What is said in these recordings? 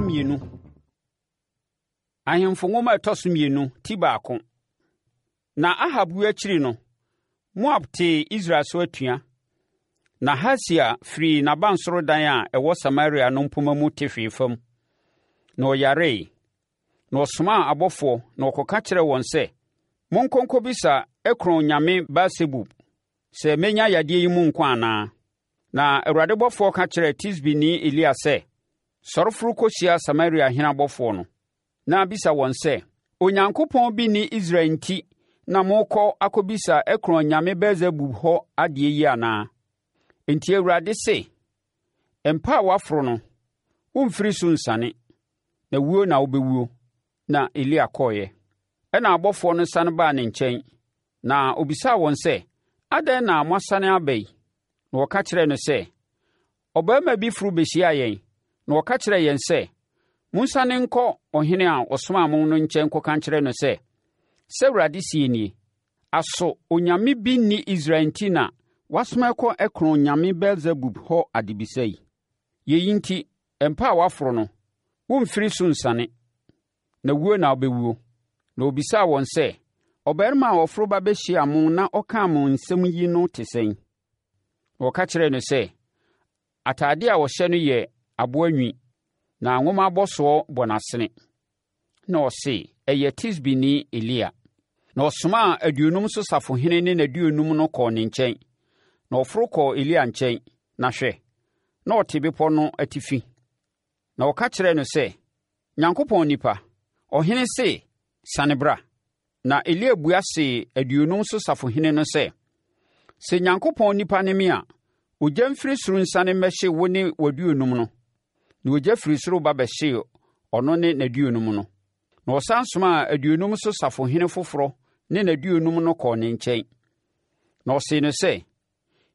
Mmienu. Ahemfo nwoma a ɛtɔ so mmienu, ti baako. Na Ahab wuo akyiri no, Moab tee Israel so atua. Na Hasael firii n'abansoro dan a ɛwɔ Samaria no mpomma mu te hwee fam, na ɔyaree. Na ɔsomaa abɔfoɔ na wɔkɔka kyerɛɛ wɔn sɛ, Monkɔ nkɔbisa Ekron nyame Beelsebub sɛ mɛnya yadeɛ yi mu nkwa anaa. Na Awurade bɔfoɔ ka kyerɛɛ Tisbini Elia sɛ, Sɔre foro kɔhyia Samaria hene abɔfoɔ no, na bisa wɔn sɛ, 'Onyankopɔn bi nni Israel nti na morekɔ akɔbisa Ekron nyame Beelsebub hɔ adeɛ yi anaa? Enti Awurade se, Mpa a woaforo no, woremfiri so nsiane, na wuo na wobɛwuo. Na Elia kɔeɛ. Ɛnna abɔfoɔ no sane baa ne nkyɛn, na ɔbisaa wɔn sɛ, Adɛn na moasane aba yi? Na wɔka kyerɛɛ no sɛ, Ɔbarima bi foro bɛhyiaa yɛn, na ɔka kyerɛɛ yɛn sɛ, 'Monsiane nkɔ ɔhene a ɔsomaa mo no nkyɛn nkɔka nkyerɛ no sɛ, Sɛ Awurade seɛ nie, Aso onyame bi nni Israel nti na woasoma kɔ Ekron nyame Beelsebub hɔ adebisa yi? Yei nti, mpa a woaforo no, woremfiri so nsiane, na wuo na wobɛwuo. Na ɔbisaa wɔn sɛ, Ɔbarima a ɔforo ba bɛhyiaa mo na ɔkaa mo nsɛm yi no te sɛn? Na wɔka kyerɛɛ no sɛ, Atadeɛ a ɔhyɛ no yɛ aboa nwi, na nwoma abɔsoɔ bɔ n'asene. Na ɔse, Ɛyɛ Tisbini Elia. Na ɔsomaa aduonum so safohene ne n'aduonum no kɔɔ ne nkyɛn. Na ɔforo kɔɔ Elia nkyɛn, na hwɛ, na ɔte bepɔ no atifi. Na ɔka kyerɛɛ no sɛ, Nyankopɔn nipa, ɔhene se, 'Siane bra. Na Elia bua see aduonum so safohene no sɛ, Sɛ Nyankopɔn nipa ne me a, ogya mfiri soro nsiane mmɛhye wo ne w'aduonum no. Na ogya firi soro ba bɛhyee ɔno ne n'aduonum no. Na ɔsan somaa aduonum so safohene foforɔ ne n'aduonum no kɔɔ ne nkyɛn. Na ɔsee no sɛ,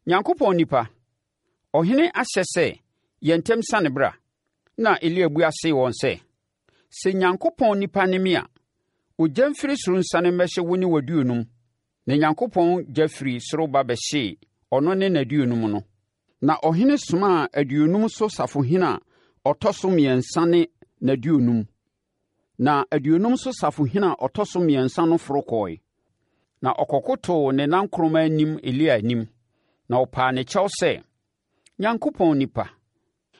Nyankopɔn nipa, ɔhene ahyɛ sɛ, 'Yɛ ntɛm siane bra. Na Elia bua see wɔn sɛ, Sɛ Nyankopɔn nipa ne me a, ogya mfiri soro nsiane mmɛhye wo ne w'aduonum. Na Nyankopɔn gya firii soro ba bɛhyee ɔno ne n'aduonum no. Na ɔhene somaa aduonum so safohene a ɔtɔ so mmiɛnsa ne n'aduonum. Na aduonum so safohene a ɔtɔ so mmiɛnsa no foro kɔe, na ɔkɔkotoo ne nankoroma anim Elia anim, na ɔpaa ne kyɛw sɛ, Nyankopɔn nipa,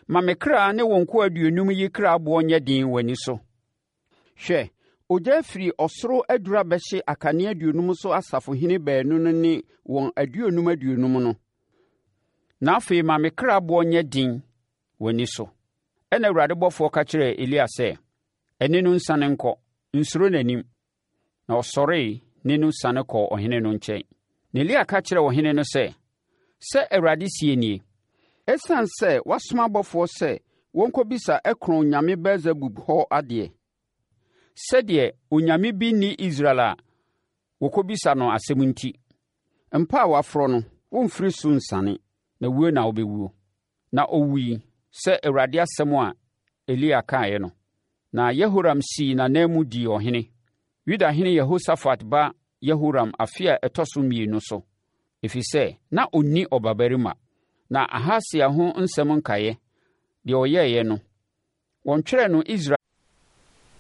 ma me kra ne wo nkoa aduonum yi kra boɔ nyɛ den w'ani so. Hwɛ, ogya afiri ɔsoro aduru abɛhye akane aduonum so asafohene baanu no ne wɔn aduonum aduonum no. Na afei ma me kra boɔ nyɛ den w'ani so. Ɛnna Awurade bɔfoɔ ka kyerɛɛ Elia sɛ, Ɛne no nsiane nkɔ, nsuro n'anim. Na ɔsɔree ne no siane kɔɔ ɔhene no nkyɛn. Na Elia ka kyerɛɛ ɔhene no sɛ, Sɛ Awurade seɛ nie, Ɛsiane sɛ woasoma abɔfoɔ sɛ wɔnkɔbisa Ekron nyame Beelsebub hɔ adeɛ, sɛdeɛ onyame bi nni Israel a wɔkɔbisa no asɛm nti, mpa a woaforɔ no, woremfiri so nsiane, na wuo na wobɛwuo. Na ɔwui sɛ Awurade asɛm a Elia kaeɛ no. Na Yehoram sii n'ananmu dii ɔhene, Yudahene Yehosafat ba Yehoram afe a ɛtɔ so mmienu so, ɛfiri sɛ na ɔnni ɔbabarima. Na Ahasia ho nsɛm nkaeɛ, deɛ ɔyɛeɛ no, wɔntwerɛɛ no Israel.